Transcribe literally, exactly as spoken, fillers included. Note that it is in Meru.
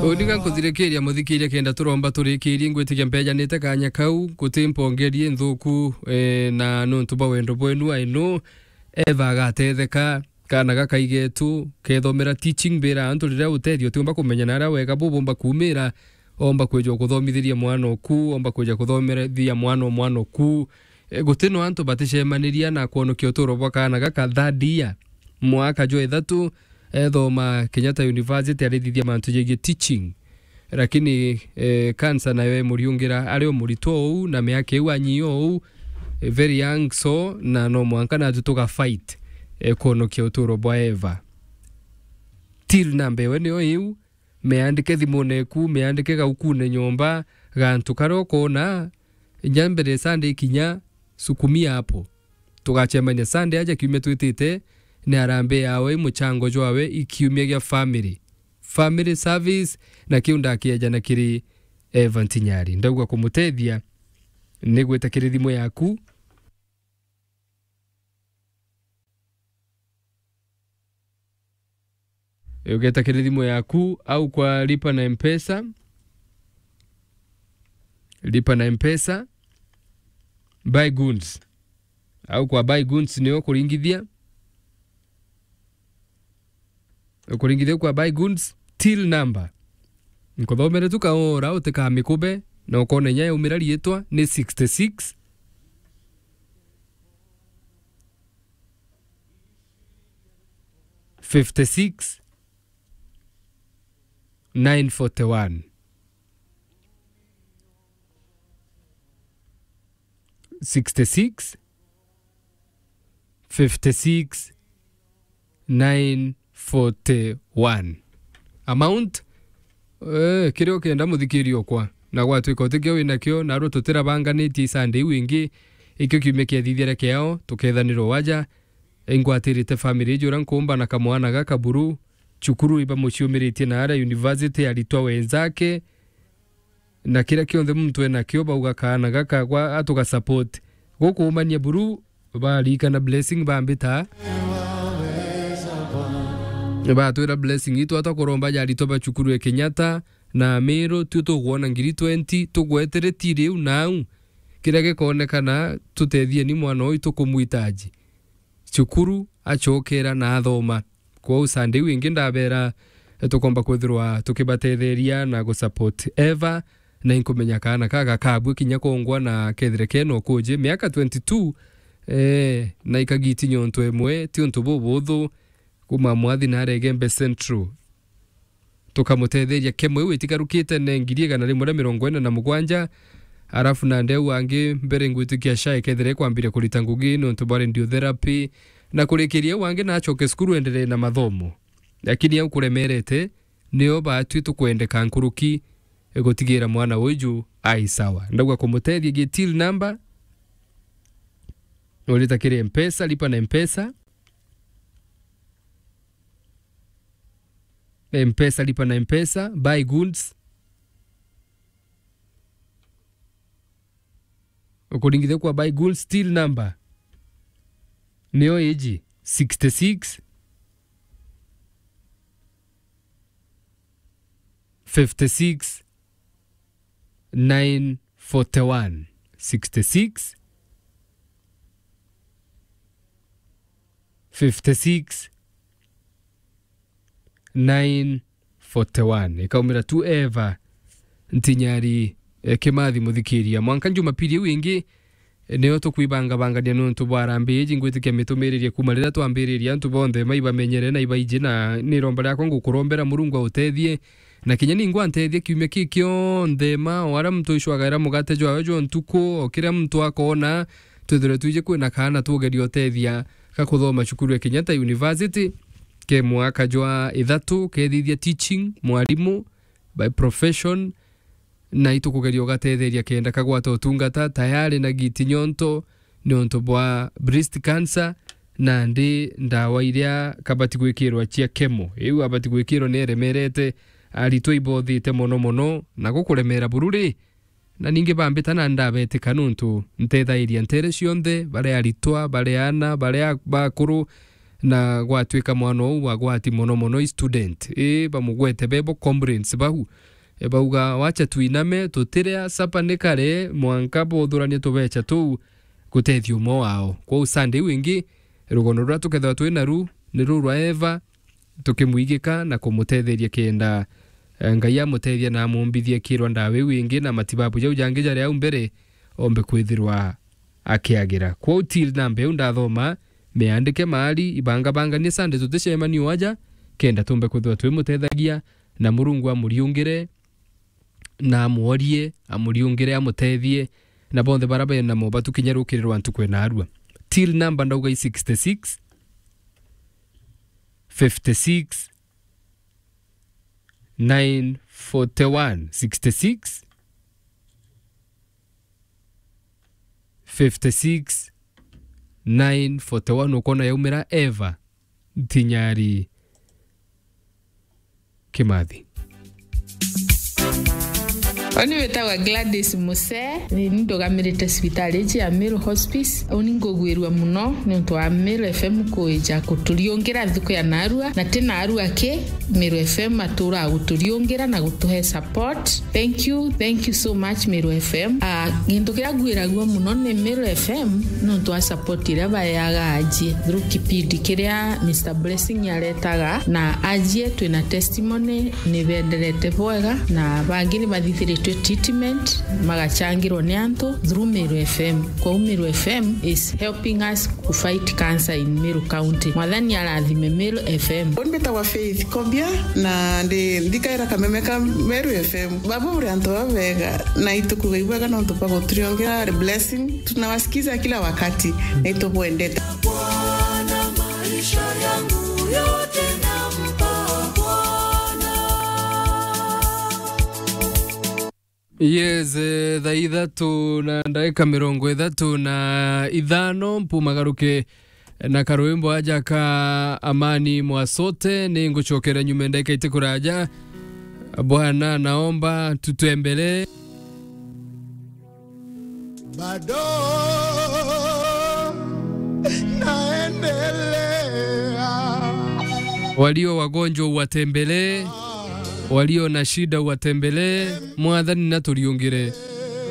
Uni ga nkuthirikiria muthikiria kenda turomba turikirie, ngwitikia mbejanite kanya kau, guti mpongerie nthuku, eh, na nuntu bwa wendo bwenu ainu, Eva agatetheka, kana gakaigetu, kethomera teaching, mbira antu riria utethio utiumba kumenya na aria wega bubumba kumira, omba kwija kuthomithiria mwana oku, omba kwija kuthomithia mwana o mwana oku. Eh, guti no antu baticemaniria na kwonokia uturo bwa kaana gaka third year, mwaka jwa ithatu, ethoma Kenyatta University, arithithia mantu jegie teaching. Lakini, eh, cancer nayo emuriungira, ari o muritwa ou, na miaka iu anyi ou, eh, very young, so, na no mwanka natu tuga fight, eh, kwonokia uturo bwa Eva. Till number iwe niyo iu, meandike thimune eku, meandike gaukune nyomba, gantu karia ukona, inya mbere Sunday ikinya, sukumia hapo. Tugacemania Sunday aja kiumia twitite, ni harambee yawe, i muchango jwawe, i kiumia gia family. Family service, na kiu ndakieja na kiri Eva Ntinyari. Ndauga kumutethia, ni gwita kiri thimu yaku. Ugeta kiri thimu yaku au kwa lipa na Mpesa. Lipa na Mpesa. Buy goods. Au kwa buy goods nio kuringithia. Ukuringithia kwa buy goods, till number. Nkuthomere tu kaora utikamikube, na ukona inya yaumira riitwa ni sixty-six, fifty-six, nine forty-one. Sixty-six, fifty-six, nine forty-one. Amount, eh, kiria ukenda muthikiri okwa. Na gwatwika utikio winakio, narua tutirabanganitie i Sunday iu ingi, ikio kiumia kiathithiria kiao, tukethanirwa waja. Ingwatirite family iji uria nkumba na kamwana gaka buru, cukuru ibamuciumiritie na aria university, aritwa wenzake, na kiria kionthe muntu enakio, bauga kaana gaka gwa atuga support. Gukuumania buru, barikana blessing bambita. Batwira blessing itu atwa kuromba ja aritwa ba cukuru ya Kenyatta na Meru, tu tukwona ngiri twenty, tugwetere ti riu nau. Kiria gikoonekana, tutethie ni mwana uyu tukumwitaji. Cukuru, acokera na athoma. Kwou Sunday iu ingi ndabera, tukomba kwithirwa tukibatetheria na gusupport Eva, na inkumenya kaana ka gakabua kinya kongwa na kethire kena ukuji. Miaka twenty-two, eh, na ikagiti nyontu emwe, ti untu bubuthu, kuma mwathi na arege Mbe Central. Tukamutetheria kemo iu itigarukite ne ngiri igana rimwe ria mirongo ina na mugwanja, arafu nandi au angi mbere ngwitikia SHA ikethira ikwambiria kurita ngugi niuntu bwa radiotherapy na kurikiria au angi na acoke cukuru enderee na mathomo. Lakini au kuremerete, nio baatwi tukwendeka nkuruki gutigira mwana uju ai sawa. Ndauga kumutethia gi till number, urita kiri Mpesa, lipa na Mpesa. Mpesa, lipa na Mpesa, buy goods. Ukuringithia kwa buy goods, till number nio iji, sixty-six, fifty-six, nine forty-one. Sixty-six, fifty-six, nine forty-one. Ikaumira tu Eva Ntinyari, eh, Kimathi muthikiria. Mwanka Jumapili iu ingi, eh, nio tukwibangabangania niuntu bwa harambee iji. Ngwitikia mitumiririe kuma riria twambiririe, antu bonthe maibamenyere na ibaiji, na ni iromba riakwa ngukurombera Murungu autethie, na kinya ningwa ntethie kiumia kii kionthe, ma o aria muntu uicwagaira mugate jwawe jwa ntuku, o kiria muntu akoona, twithirwe twiji kwina kaana tugeria utethia ga kuthoma cukuru ya Kenyatta University, ke mwaka jwa ithatu, kethithia teaching, mwarimu by profession, na itukugeria ugatetheria kenda kagwata utungata tayari na giti nyonto niuntu bwa breast cancer, nandi ndawa iria kabati gwikirwa cia chemo. Iu abati gwikirwa ni eremerete, aritwa ibothite mono mono, na gukuremera buru ri, na ningi bambita na ndabetika niuntu ntethairia ntere cionthe, baria aritwa, baria aana, baria bakuru, Na gwatwika mwana uu agwati mono mono i student. Ii, bamugwete bebo comrades bau. E, bauga, "Wacha tuiname, tutiria sapa ni kare, mwanka boothuranie tubecha tuu gutethia umwe wao." Kwou Sunday iu ingi, rugono ruria tukethirwa twi naru ni ruu rwa Eva, tukimwigika na kumutetheria kenda, e, Ngai amutethia na amumbithie kirwa ndawa iu ingi na matibabu jau jangi jari au mbere ombe kwithirwa akiagira. Kwou till namba iu ndathoma, miandike maari, ibangabanganie Sunday tuticemanie o aja, kenda tumbe kwithirwa twimutethagia, na Murungu amuriungire, na amworie, amuriungire, amutethie, na bonthe bara bena mo batukinya rukiri rwa ntuku ena arua. Till namba ndauga i sixty-six, fifty-six, nine forty-one, sixty-six, fifty-six, nine forty-one, ukona yaumira Eva Ntinyari Kimathi. Oni witagwa Gladys Muse, ni ndugamirite cibitari iji ya Meru Hospice. Uni ngugwirua muno niuntu wa Meru F M kuija kuturiungira nthuku ya narua, na ti narua ki, Meru F M atura guturiungira na gutuhe support. Thank you, thank you so much, Meru F M. Ah, gintu kiria ngwiragua muno ni Meru F M niuntu wa support iria baeaga ajie through kipindi kiria Mister Blessing aretaga, na ajie twina testimony ni benderete bwega, na bangi ni bathithiritwe treatment, magachangirwa ni antu through Meru F M. Kwou Meru F M is helping us to fight cancer in Meru County. Mwathani arathime Meru F M. Uni mbitagwa Faith Kobia, na ndi, ndikaira kameme ka Meru F M. Baba uri antu babega, na itukuga ibwega nontu bwa guturiongera blessing. Tunawasikiza kila wakati, na itubwendete. Bwana, maisha yangu yote nampa Bwana. Yes, eh, thaa ithatu na ndagika mirongo ithatu na ithano, mpumagaruke na karwimbo aja ka Amani Mwasote, ni ngucokera nyuma ndagika itikuraja. Bwana, naomba tutembelee. Bado naendelea. Walio wagonjwa uwatembelee, walio na shida uwatembelee, Mwathani naturiungire.